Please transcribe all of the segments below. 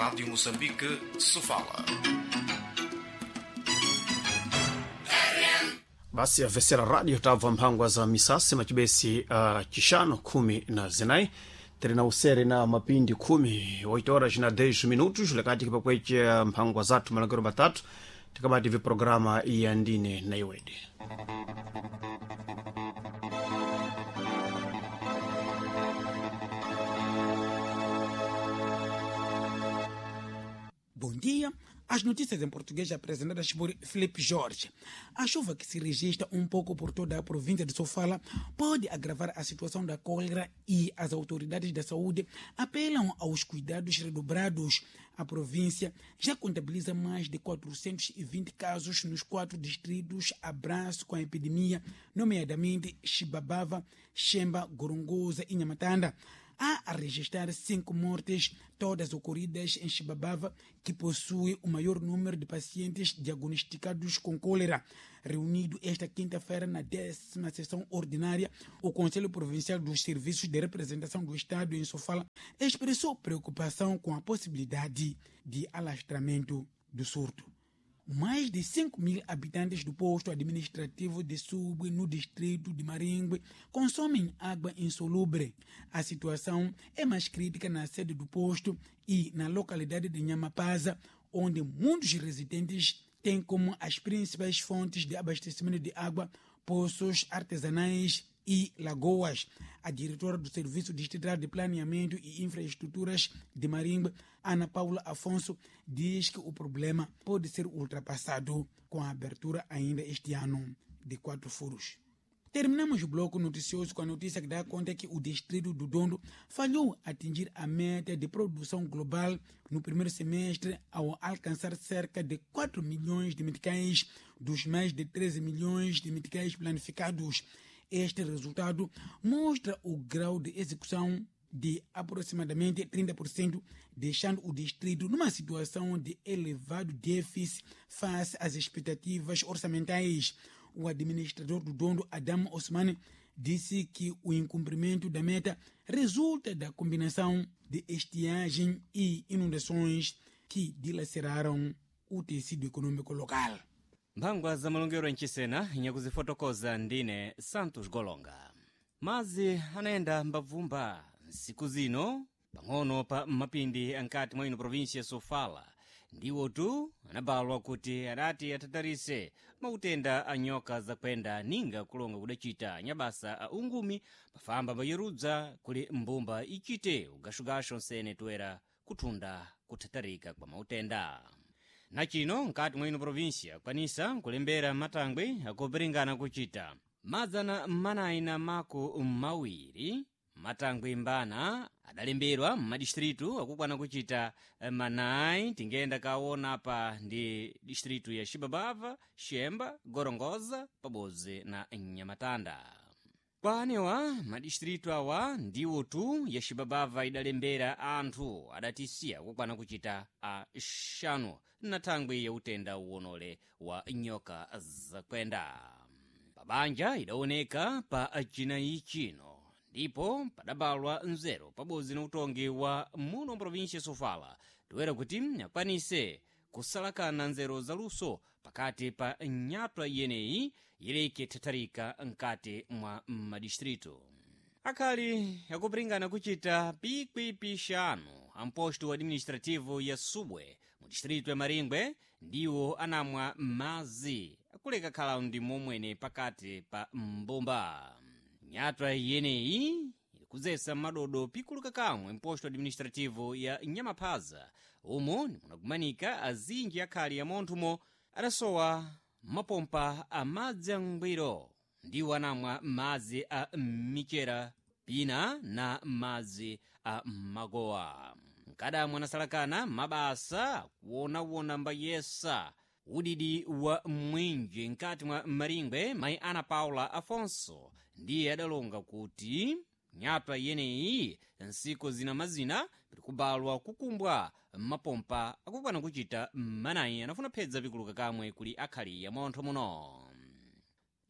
Rádio Moçambique, Sofala. Basi avesera radio tabva mphangwa za misasi macibesi chixano 14 tiri na usere na mapindi 10 8 horas na 10 minutos lekati kipakweche mphangwa zathu malangero matatu tikabati vi programa ya ndine na iwede. Bom dia. As notícias em português apresentadas por Felipe Jorge. A chuva que se registra um pouco por toda a província de Sofala pode agravar a situação da cólera e as autoridades da saúde apelam aos cuidados redobrados. A província já contabiliza mais de 420 casos nos 4 distritos abraço com a epidemia, nomeadamente Chibabava, Xemba, Gorongosa e Nhamatanda. Há a registrar 5 mortes, todas ocorridas em Chibabava, que possui o maior número de pacientes diagnosticados com cólera. Reunido esta quinta-feira na 10ª sessão ordinária, o Conselho Provincial dos Serviços de Representação do Estado em Sofala expressou preocupação com a possibilidade de alastramento do surto. Mais de 5 mil habitantes do posto administrativo de Sube, no distrito de Maringue, consomem água insalubre. A situação é mais crítica na sede do posto e na localidade de Nhamapaza, onde muitos residentes têm como as principais fontes de abastecimento de água poços artesanais e lagoas. A diretora do Serviço Distrital de Planeamento e Infraestruturas de Marimba, Ana Paula Afonso, diz que o problema pode ser ultrapassado com a abertura ainda este ano de 4 furos. Terminamos o bloco noticioso com a notícia que dá conta que o distrito do Dondo falhou atingir a meta de produção global no primeiro semestre ao alcançar cerca de 4 milhões de meticais dos mais de 13 milhões de meticais planificados. Este resultado mostra o grau de execução de aproximadamente 30%, deixando o distrito numa situação de elevado déficit face às expectativas orçamentais. O administrador do Dondo, Adam Osmani, disse que o incumprimento da meta resulta da combinação de estiagem e inundações que dilaceraram o tecido econômico local. Mphangwa za malongero mchisena nyakuzifotokoza ndine Santos Golonga. Mazi anayenda mbabvumba nsiku zino pang'ono pa mapindi ankati mwa ino província ya Sofala ndiwo tu anabalwa kuti adati atatarise mautenda a nyoka zakwenda ninga kulonga kudacita nyabasa a ungumi pafamba mbayerudza kuli mbumba ichite ugashugashu nsene toera kuthunda kuthatarika kwa mautenda. Nachino nkati mwa ino província kwanisa kulembera matangwe akupiringana kuchita 442 matangwe mbana adalemberwa m'madistritu akukwana kuchita manayi. Tingenda kaona pa ndi distritu ya Xibabava, Xemba, Gorongosa pabodzi na Nhamatanda. Kwa anewa madistritu awa ndiwo tu ya Xibabava idalembera anthu adatisiya kukwana kuchita axanu na thangwi ya utenda uwonole wa nyoka zakwenda. Pabanja idaoneka pa chinayi chino ndipo padabalwa nzeru pabodzi na utongi wa muno província Sofala toera kuti akwanise kusalakana nzeru zaluso pakati pa nyatwa yeneyi yileke thatharika nkati mwa madistritu. Akhali akupiringana kuchita pikwi-pixanu amposto administrativo ya Subwe mu distritu ya Maringwe ndiwo anamwa mazi akuleka khala ndi momwene pakati pa mbumba. Nyatwa yeneyi ikuzesa madodo pikuluka kamwe mposto administrativo ya Nyamaphaza umo munakumanika azinji akhali ya monthumo adasowa mapompa a madzi angwiro ndiwo anamwa madzi a michera pina na madzi a magowa. Mkadamwa anasalakana mabasa kuwonawona mbayesa udidi wa mwinji nkati mwa Maringwe. Mayi Ana Paula Afonso ndiye adalonga kuti nyatwa yeneyi nsiku zina mazina pikubalwa kukumbwa mapompa akukwana kuchita manayi anafuna phedza pikuluka kamwe kuli akhali ya montho muno.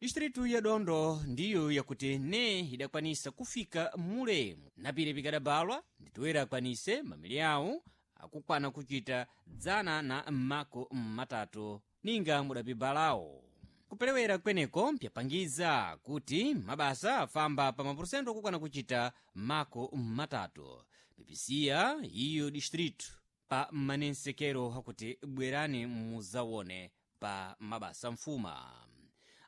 Distritu ya Dondo ndiyo yakuti ne idakwanisa kufika mule napire pikadabalwa nditoera akwanise mamili awo akukwana kuchita 130 ninga mudapibalawo. Kupelewera kweneko pyapangiza kuti mabasa afamba pa mapurusento akukwana kuchita 30 pipisiya iyo distritu pa manensekero akuti bwerani muzawone pa mabasa mfuma.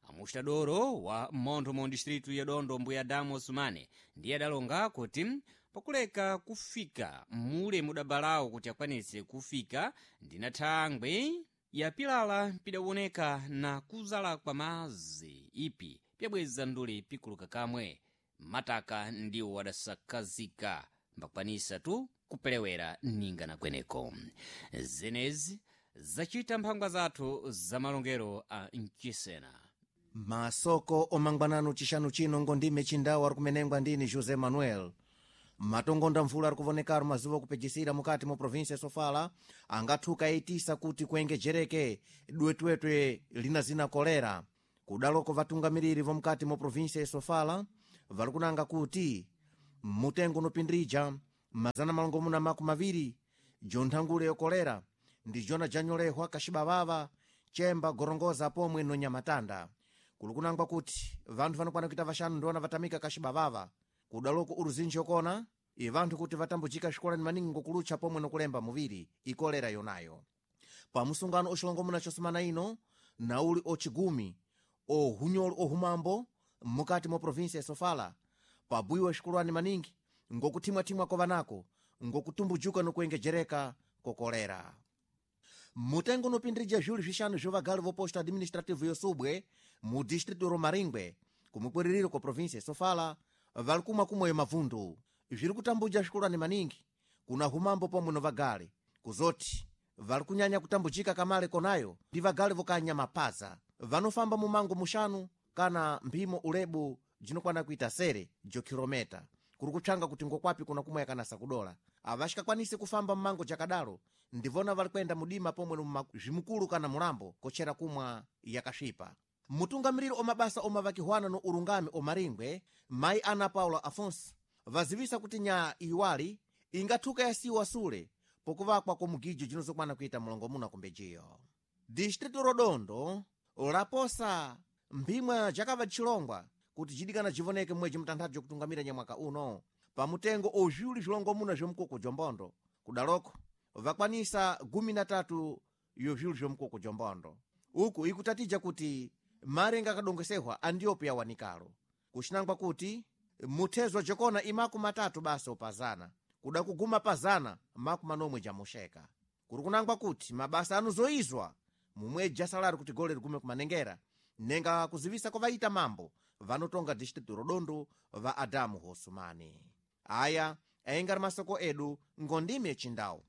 Amustadoro wa mmontho mu distritu ya Dondo, mbuya Adamu Osumane, ndiye adalonga kuti pakuleka kufika mule mudabalawo kuti akwanise kufika ndina thangwe yapilala pidawoneka na kuzala kwa mazi ipi pyabweza nduli pikuluka kamwe mataka ndiwo adasakazika mbakwanisa tu kupelewera ninga na kweneko. Zenezi zachita mphangwa zathu za malongero a mchisena. Masoko omangwanano chixanu chino ngondime chindawu ari kumenengwa ndini José Manuel. Matongonda mvula ari kuvonekaro mazuva okupejisira mukati mu província ya Sofala angathuka aitisa kuti kuengejereke dwetwetwe lina zina kolera. Kudaloko vatungamiriri vomukati mu província ya Sofala vari kunanga kuti mutengo unopindirija 620 jonthangule yokolera ndi jona janyolehwa kaxibavava, Chemba, Gorongoza pomwe no Nyamatanda. Kuli kunangwa kuti vanthu vanokwana kuita vaxanu ndiona vatamika kaxibavava. Kudaloko uruzinji okona i vanthu kuti vatambujika xikolani maningi ngokulutcha pomwe nokulemba muviri ikolera yonayo. Pamusungano oxilongomuna xosumana ino nauli ocigumi ohunyolo ohumambo mukati mwa província ya Sofala pabuiwa xikolwani maningi ngokuthimwathimwa kovanako ngokutumbujuka nokuengejereka kokolera. Mutengo unopindirija zviwiri zvixanu zvo vagali vo posto administrativo yo Subwe mu distrito ro Maringwe kumukwiririro kwa província ya Sofala vali kumwa kumweyo mavundu zviri kutambuja xikolwani maningi kuna humambo pomwe no vagali kuzoti vali kunyanya kutambujika kamale konayo ndi vagali vokanya mapaza vanofamba mumango muxanu kana mphimo ulebu jinokwana kuita sere jo kilometa kuri kutshanga kuti ngokwapi kuna kumwe yakanasa kudola avaxikakwanisi kufamba mmango jakadalo ndivona vali kwenda mudima pomwe no zvimukulu kana mulambo kochera kumwa yakasvipa. Mutungamiriri omabasa omavakihwana no urungami omaringwe mayi Ana Paula Afonso vazivisa kuti nyaa iwali ingathuka yasiwa sule pokuvakwa komugijo jinozokwana kuita mulongomuna kumbejiyo. Distrito Rodondo laposa mphimwa jakava chilongwa kuti jidikana jivoneke mwedzi mtanthatu jokutungamira nyamwaka uno pamutengo ozviwuli zvilongomuna zvomukoko jombondo. Kudaloko vakwanisa 13 yozviwuli zvomukoko jombondo. Uku ikutatija kuti marenga akadongesehwa andiyopo yawanikalo kuxinangwa kuti muthezwa jokona imaku matatu basa opazana kuda kuguma pazana 70 jamuxeka. Kuri kunangwa kuti mabasa anozoizwa mumwedzi asalari kuti gole ligume kumanengera nenga kuzivisa kwavaita mambo vanotonga distritu Rodondo va Adamu Hosumani. Aya aingari masoko edu ngondime chindau.